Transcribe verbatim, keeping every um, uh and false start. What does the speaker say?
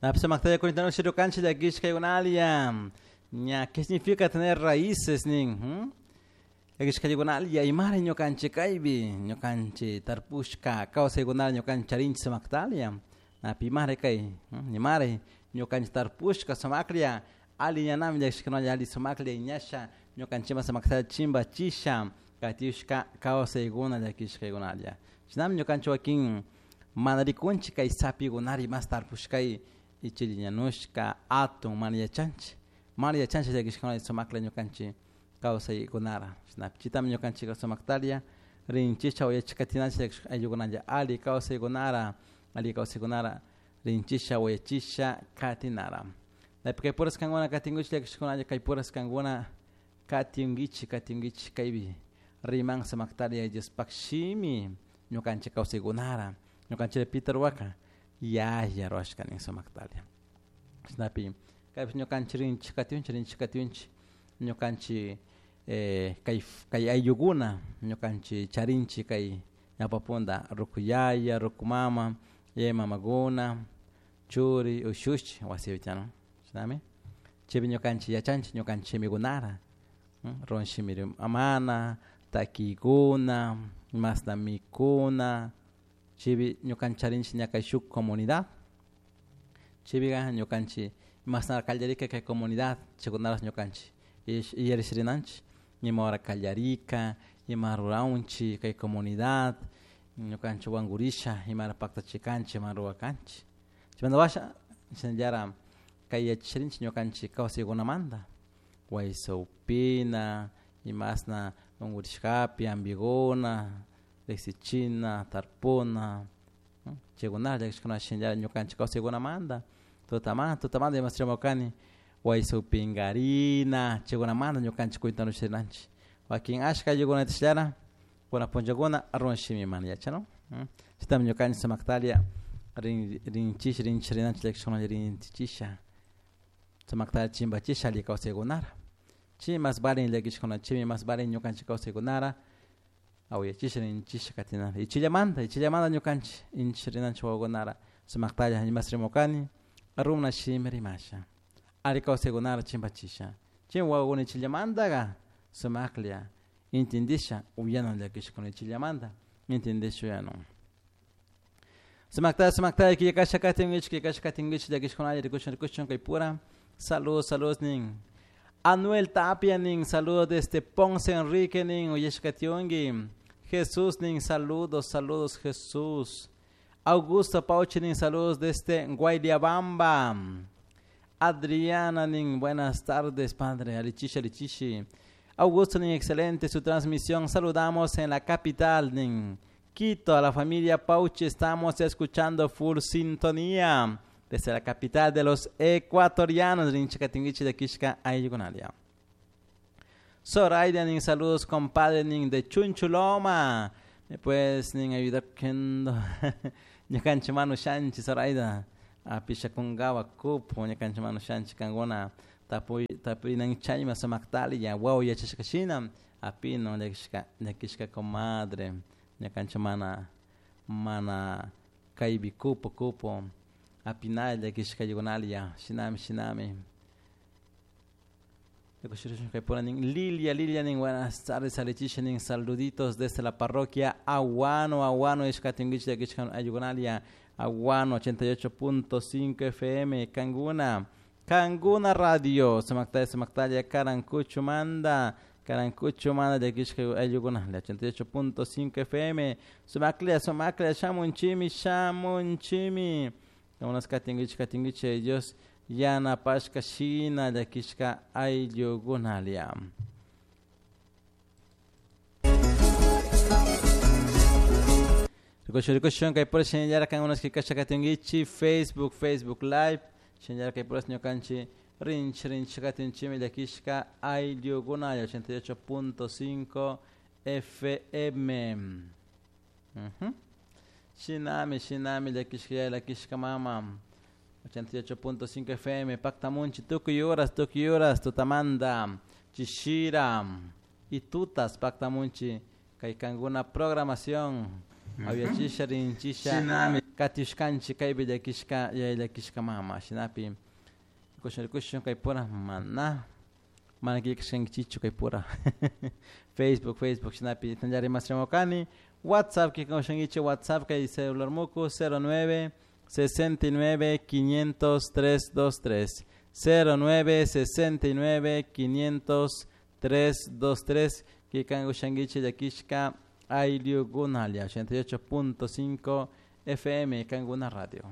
Napsa cuéntanos cancha de aquí ña, ¿qué significa tener raíces nin? Hmm? Llakishkaykunalia imara ñukanchik kaypi ñukanchik tarpushka kawsaykunata ñukanchik charinchik sumaktalia napi imara kay imara ñukanchik tarpushka sumaklla alli ñanami llakishkunalla alli sumaklla ñasha ñukanchikman sumakta chimbachisha katishka kawsaykuna llakishkaykunalla shinami ñukanchik wakin mana rikunchik kay sapikunari mas tarpushkay ichilla ñanushka atun mana yachanchik mana yachanchik llakishkunalla sumaklla ñukanchik kawsaykunara shinapi chitami ñukanchik sumaktalia rinchisha uyachikatinanchik ayllukunalla alli kawsaykunara alli kawsaykunara rinchisha uyachisha katinara napi kay puras kankuna katinkuchik llakishkunalla kay puras kankuna katinkichik katinkichik kaypi riman sumaktalia Diospak shimi ñukanchik kawsaykunara ñukanchik pita ruwaka yaya ruwashka nin sumaktalia shinapi kaypi ñukanchik rinchik katinchik rinchik katinchik ñukanchik eh, kay kay ayllukuna ñukanchik charinchik kay ñawpapunda ruku yaya ruku mama yaya mamakuna churi ushushi wasipi chano shinami chaypi ñukanchik yachanchik ñukanchik shimikunara runa shimi amana takiykuna mashna mikuna chaypi ñukanchik charinchik ña kay shuk comunidad chaypika ñukanchik mashnara kallarika kay comunidad chaykunarash ñukanchik yarishirinanchik ima hora kallarika ima ruraunchik kay comunidad ñukanchik wankurisha imara paktachikanchik ima rurakanchik chaymanta washa shinallara kay yachasharinchik ñukanchik kawsaykunamanta waysawpina imashna unkurishkapi ampikuna riksichina tarpuna chaykunata llakishkuna shinallara ñukanchik kawsaykunamanta tutamanta tutamanta imashiramukani waysawpinkarina chaykunamanta ñukanchik cuentanusharinanchik wakin ashka ayllukunatashllara kuna punllakuna runa shimi mana yachano chaytami ñukanchik sumaktalia rin rinchish rinchirinanchik llakishkunalla rinchichisha sumakta chimbachisha alli kawsaykunara chay mas valin llakishkuna chaymi mas valin ñukanchik kawsaykunara awayachisha rinchisha katinara ichillamanta ichillamanta ñukanchik inchirinanchik wawakunara sumaktalla imas rimukani runa shimi rimasha alli kawsaykunara chimbachisha chay wawakuna ichillamantaka sumaklla intindisha uyanan llakishkuna ichillamanta intindisha uyanan sumakta sumakta killkasha katinkichik killkasha katinkichik llakishkunalla rikushun rikushun kay pura saludos saludos nin Anuel Tapia nin saludos desde Ponce Enrique nin uyashkationki Jesús nin saludos saludos Jesús Augusto Pauchi nin saludos desde Guayllabamba Adriana nin buenas tardes padre alichisha alichishi Augusto nin excelente su transmisión saludamos en la capital nin Quito a la familia Pauchi estamos escuchando full sintonía desde la capital de los ecuatorianos rinchikatingichi de Kishka ayllukunalia Zoraida nin saludos compadre nin de Chunchuloma me puedes nin ayudar kendo ñukanchik manu shanchi Zoraida apisha kungawa kupu ñukanchik manu shanchi kankuna tapuy tapurinan chayma sumaktali wawa yachashka shina apino llakishka llakishka comadre ñukanchik mana mana kaypi kupu kupu apinalla llakishka ayllukunalia shinami shinami Lilia, Lilia nin buenas tardes alichisha nin saluditos desde la parroquia Aguano, Aguano, ishkatinguich llakishka ayllukunalia Aguano ochenta y ocho punto cinco F M, Canguna, Canguna Radio, Sumaktalla, Sumaktalla, Karankuchu manda, Karankuchu manda llakishka ayllukunalia ochenta y ocho punto cinco F M, Sumaklia, Sumaklia, shamunchimi, shamunchimi, unas katinguich, katinguich, Dios yanapashka shina llakishka ayllukunalia. Rikushun, rikushun, kay pura shinallara kankunas killkasha katinkichik Facebook, Facebook Live, shinallara kay puras ñukanchik rinchi, rinchi katinchimi llakishka ayllukunalia ochenta y ocho punto cinco F M. Uh-huh. Shinami, shinami, llakishka llakishka mama ochenta y ocho punto cinco F M, Pactamunchi, tukuy horas, tukuy horas, tutamanta, chishira y tutas, Pactamunchi, kay kankuna programación, aviachisha, rinchisha, Katiushkanchik kaypi llakishka yaya llakishka mama shinapi rikushun rikushun kaypura mana mana killkashkankichikchu kaypura Facebook Facebook shinapi tantallari masramukani WhatsApp killkashankichik WhatsApp kay celular muku cero nueve sesenta y nueve quinientos tres dos tres cero nueve sesenta y nueve quinientos tres dos tres killkankushankichik llakishka ayllukunalla ochenta y ocho punto cinco F M Kanguna Radio.